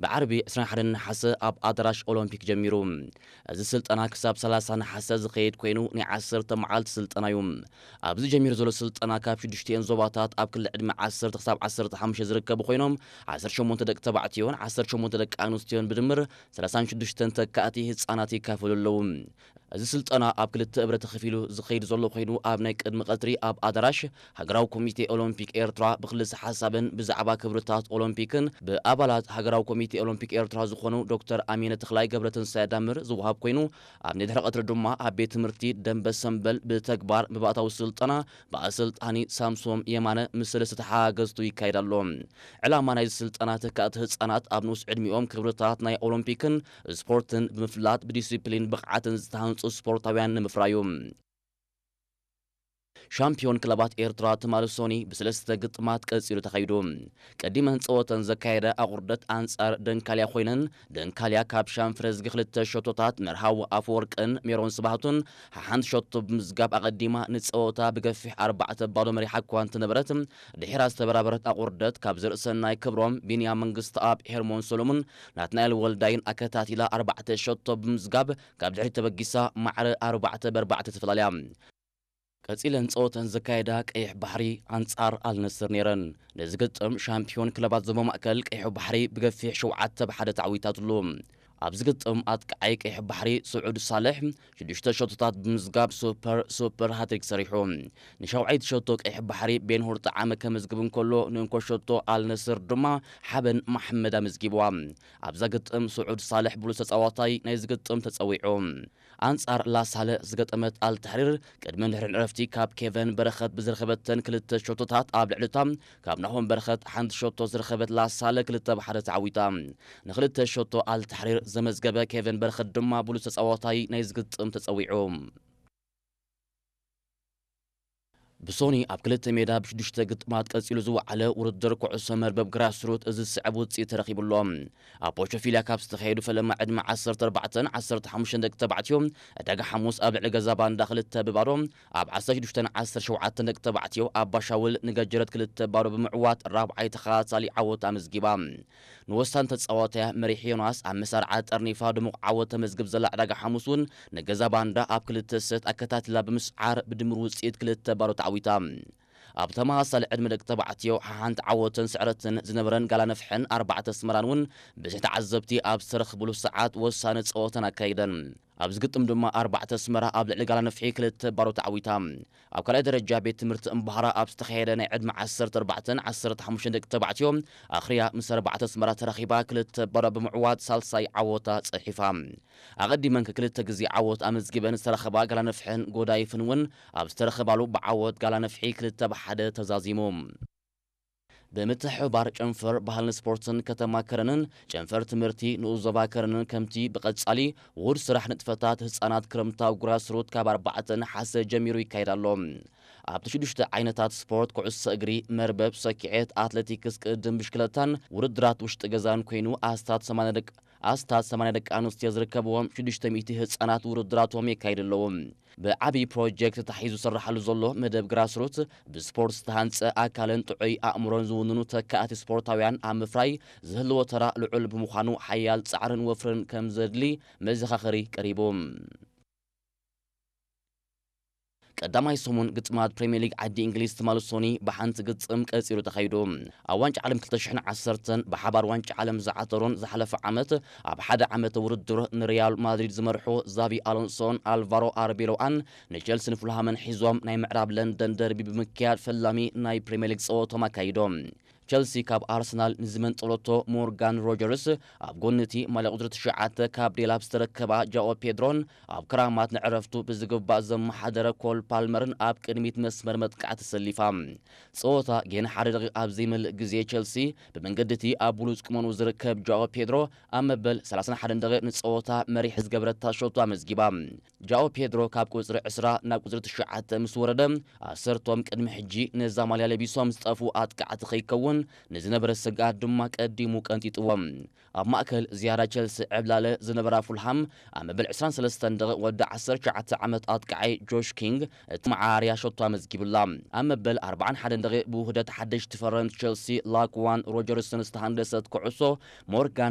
ብዓርቢ ዕስራን ሓደን ነሓሰ ኣብ ኣዳራሽ ኦሎምፒክ ጀሚሩ። እዚ ስልጠና ክሳብ ሰላሳ ነሓሰ ዝኸይድ ኮይኑ፣ ናይ ዓሰርተ መዓልቲ ስልጠና እዩ። ኣብዚ ጀሚሩ ዘሎ ስልጠና ካብ ሽዱሽቲኤን ዞባታት ኣብ ክሊ ዕድመ ዓሰርተ ክሳብ ዓሰርተ ሓሙሽተ ዝርከቡ ኮይኖም፣ ዓሰርተ ሸሞንተ ደቂ ተባዕትዮን ዓሰርተ ሸሞንተ ደቂ ኣንስትዮን ብድምር ሰላሳን ሽዱሽተን ተካእቲ ህጻናት ይካፈሉ ኣለዉ። እዚ ስልጠና ኣብ ክልተ እብረ ተኸፊሉ ዝኸይድ ዘሎ ኮይኑ፣ ኣብ ናይ ቅድሚ ቀትሪ ኣብ ኣዳራሽ ሃገራዊ ኮሚቴ ኦሎምፒክ ኤርትራ ብክልሰ ሓሳብን ብዛዕባ ክብርታት ኦሎምፒክን ብኣባላት ሃገራዊ ኮሚቴ ኦሎምፒክ ኤርትራ ዝኾኑ ዶክተር ኣሚነ ተኽላይ ገብረትንሳኤ ዳምር ዝወሃብ ኮይኑ፣ ኣብ ናይ ድሕሪ ቀትሪ ድማ ኣብ ቤት ትምህርቲ ደንበ ሰምበል ብተግባር ብባእታዊ ስልጠና ብኣሰልጣኒ ሳምሶም የማነ ምስ ሰለስተ ተሓጋገዝቱ ይካየድ ኣሎ። ዕላማ ናይዚ ስልጠና ተካእቲ ህጻናት ኣብ ንኡስ ዕድሚኦም ክብርታት ናይ ኦሎምፒክን ስፖርትን ብምፍላጥ ብዲሲፕሊን ብቕዓትን ዝተሃንጹ ስፖርታውያን ንምፍራዩ። ሻምፒዮን ክለባት ኤርትራ ትማሊ ሶኒ ብሰለስተ ግጥማት ቀጺሉ ተኻይዱ። ቀዲመን ጸወተን ዘካየደ ኣቑርደት ኣንጻር ደንካልያ ኮይነን፣ ደንካልያ ካብ ሻንፍረዝጊ ክልተ ሸቶታት መርሃዊ ኣፈወርቅን ሜሮን ስብሃቱን ሓሓንቲ ሸቶ ብምዝጋብ ኣቐዲማ ንጸወታ ብገፊሕ ኣርባዕተ ባዶ መሪሓ እኳ እንተነበረት፣ ድሒራ ዝተበራበረት ኣቑርደት ካብ ዘርእሰናይ ክብሮም፣ ቢንያም መንግስተኣብ፣ ሄርሞን ሰሎሙን፣ ናትናኤል ወልዳይን ኣከታቲላ ኣርባዕተ ሸቶ ብምዝጋብ ካብ ድሕሪት ተበጊሳ ማዕረ ኣርባዕተ ብኣርባዕተ ተፈላልያ። ቀጺለን ጸወተን ዘካየዳ ቀይሕ ባሕሪ ኣንጻር ኣልነስር ነይረን። ነዚ ግጥም ሻምፒዮን ክለባት ዞባ ማእከል ቀይሕ ባሕሪ ብገፊሕ ሸውዓተ ብ ሓደ ተዓዊታትሉ። ኣብዚ ግጥም ኣጥቃዓይ ቀይሕ ባሕሪ ስዑድ ሳልሕ ሽዱሽተ ሸቶታት ብምዝጋብ ሱፐር ሱፐር ሃትሪክ ሰሪሑ። ንሻውዓይቲ ሸቶ ቀይሕ ባሕሪ ቤንሁር ጠዓመ ከመዝግብ እንከሎ፣ ንእንኮ ሸቶ ኣልነስር ድማ ሓበን መሓመድ ኣመዝጊብዋ። ኣብዛ ግጥም ስዑድ ሳልሕ ብሉጽ ተጻዋታይ ናይዚ ግጥም ተጸዊዑ። ኣንጻር ላሳለ ዝገጠመት ኣልታሕሪር ቅድሚ ድሕሪን ዕረፍቲ ካብ ኬቨን በረኸት ብዝረኸበተን ክልተ ሸቶታት ኣብ ልዕሊታ ካብ ናሆም በረኸት ሓንቲ ሸቶ ዝረኸበት ላሳለ ክልተ ብ ሓደ ተዓዊታ። ንክልተ ሸቶ ኣልታሕሪር ዘመዝገበ ኬቨን በረኸት ድማ ብሉጽ ተጻዋታይ ናይ ዝግጥም ተጸዊዑ። ብሶኒ ኣብ ክልተ ሜዳ ብሽዱሽተ ግጥማት ቀጺሉ ዝወዓለ ውድድር ኩዕሶ መርበብ ግራስሩት እዚ ዝስዕብ ውጽኢት ተረኺቡ ኣሎ። ኣብ ፖቾፊልያ ካብ ዝተኻየዱ ፈለማ ዕድመ ዓሰርተ ኣርባዕተን ዓሰርተ ሓሙሽተን ደቂ ተባዕትዮ ዕዳጋ ሓሙስ ኣብ ልዕሊ ገዛ ባንዳ ክልተ ብባዶ፣ ኣብ ዓሰርተ ሽዱሽተን ዓሰርተ ሸውዓተን ደቂ ተባዕትዮ ኣባሻውል ንገጀረት ክልተ ባዶ ብምዕዋት ራብዓይ ተኸታታሊ ዓወት ኣመዝጊባ። ንወሳኒ ተጻዋታያ መሪሕ ዮናስ ኣብ መሳርዓ ጠርኒፋ ድሙቕ ዓወት ተመዝግብ ዘላ ዕዳጋ ሓሙስ እውን ንገዛ ባንዳ ኣብ ክልተ ሰት ኣከታቲላ ብምስዓር ብድምር ውጽኢት ክልተ ባዶ ተዓዊታ። ኣብ ተመሳሳሊ ዕድመ ደቂ ተባዕትዮ ሓሓንቲ ዓወትን ስዕረትን ዝነበረን ጋላ ነፍሕን ኣርባዕተ ኣስመራን እውን ብዙሕ ተዓዘብቲ ኣብ ዝተረኽብሉ ሰዓት ወሳኒ ጸወተን ኣካይደን። ኣብዚ ግጥም ድማ ኣርባዕተ ኣስመራ ኣብ ልዕሊ ጋላ ነፍሒ ክልተ ባዶ ተዓዊታ። ኣብ ካልኣይ ደረጃ ቤት ትምህርቲ እምባህራ ኣብ ዝተኻየደ ናይ ዕድመ ዓሰርተ ኣርባዕተን ዓሰርተ ሓሙሽተን ደቂ ተባዕትዮ ኣኽርያ ምስ ኣርባዕተ ኣስመራ ተራኺባ ክልተ ባዶ ብምዕዋት ሳልሳይ ዓወታ ጸሒፋ። ኣቐዲመን ክልተ ግዜ ዓወት ኣመዝጊበን ዝተረኸባ ጋላ ነፍሕን ጎዳይፍን እውን ኣብ ዝተረኸባሉ ብዓወት ጋላ ነፍሒ ክልተ ብ ሓደ ተዛዚሙ። ብምትሕብባር ጨንፈር ባህልን ስፖርትን ከተማ ከረንን ጨንፈር ትምህርቲ ንኡስ ዞባ ከረንን ከምቲ ብቐጻሊ ውሁድ ስራሕ ንጥፈታት ህጻናት ክረምታዊ ግራስሩት ካብ ኣርባዕተ ነሓሰ ጀሚሩ ይካየድ ኣሎ። ኣብቲ ሽዱሽተ ዓይነታት ስፖርት ኩዕሶ እግሪ፣ መርበብ፣ ሰኪዔት፣ ኣትሌቲክስ፣ ቅድድም ብሽክለታን ውድድራት ውሽጢ ገዛን ኮይኑ ኣስታት ሰማንያ ደቂ ኣስታት ሰማንያ ደቂ ኣንስትዮ ዝርከብዎም ሽዱሽተ ሚእቲ ህጻናት ውድድራቶም የካይዱ ኣለዉ። ብዓቢ ፕሮጀክት ተታሒዙ ዝስርሓሉ ዘሎ መደብ ግራስሩት ብስፖርት ዝተሃንጸ ኣካልን ጥዑይ ኣእምሮን ዝውንኑ ተካእቲ ስፖርታውያን ኣብ ምፍራይ ዝህልዎ ተራ ልዑል ብምዃኑ ሓያል ጻዕርን ወፍርን ከም ዘድሊ መዘኻኸሪ ቀሪቡ። ቀዳማይ ሰሙን ግጥማት ፕሪምየር ሊግ ዓዲ እንግሊዝ ትማሊ ሶኒ ብሓንቲ ግጥም ቀጺሉ ተኻይዱ። ኣብ ዋንጫ ዓለም ክልተ ሽሕን ዓሰርተን ብሓባር ዋንጫ ዓለም ዝዓተሩን ዝሓለፈ ዓመት ኣብ ሓደ ዓመተ ውድድር ንሪያል ማድሪድ ዝመርሑ ዛቪ ኣሎንሶን ኣልቫሮ ኣርቤሎኣን ንቸልስን ፉልሃምን ሒዞም ናይ ምዕራብ ለንደን ደርቢ ብምክያድ ፈላሚ ናይ ፕሪምየር ሊግ ጸወቶም ኣካይዶም። ቸልሲ ካብ ኣርሰናል ንዝመንጠለቶ ሞርጋን ሮጀርስ ኣብ ጎኒ እቲ ማልያ ቁጽሪ ትሽዓተ ካብ ዴላፕ ዝተረከባ ጃኦ ፔድሮን ኣብ ክራማት ንዕረፍቱ ብዝግባእ ዘመሓደረ ኮል ፓልመርን ኣብ ቅድሚት መስመር መጥቃዕቲ ተሰሊፋ። ጸወታ ጌና ሓደ ደቂቕ ኣብ ዘይመልእ ግዜ ቸልሲ ብመንገዲ እቲ ኣብ ብሉጽ ቁመንኡ ዝርከብ ጃኦ ፔድሮ ኣብ መበል ሰላሳን ሓደን ደቂቕ ንጸወታ መሪሕ ዝገበረታ ሸቶ ኣመዝጊባ። ጃኦ ፔድሮ ካብ ቁጽሪ ዕስራ ናብ ቁጽሪ ትሽዓተ ምስ ወረደ፣ ኣሰርቶም ቅድሚ ሕጂ ነዛ ማልያ ለቢሶም ዝጠፍኡ ኣጥቃዕቲ ከይከውን ንዝነበረ ስግኣት ድማ ቀዲሙ ቀንጢጥዎም። ኣብ ማእከል ዝያዳ ቸልሲ ዕብላለ ዝነበራ ፉልሃም ኣብ መበል ዕስራን ሰለስተን ደቂቕ ወዲ ዓሰርተ ትሽዓተ ዓመት ኣጥቃዓይ ጆሽ ኪንግ እቲ መዓራርያ ሸቶ ኣመዝጊቡላ። ኣብ መበል ኣርባዓን ሓደን ደቂቕ ብውህደት ሓደሽቲ ፈረምቲ ቸልሲ ላክዋን ሮጀርስን ዝተሃንደሰት ኩዕሶ ሞርጋን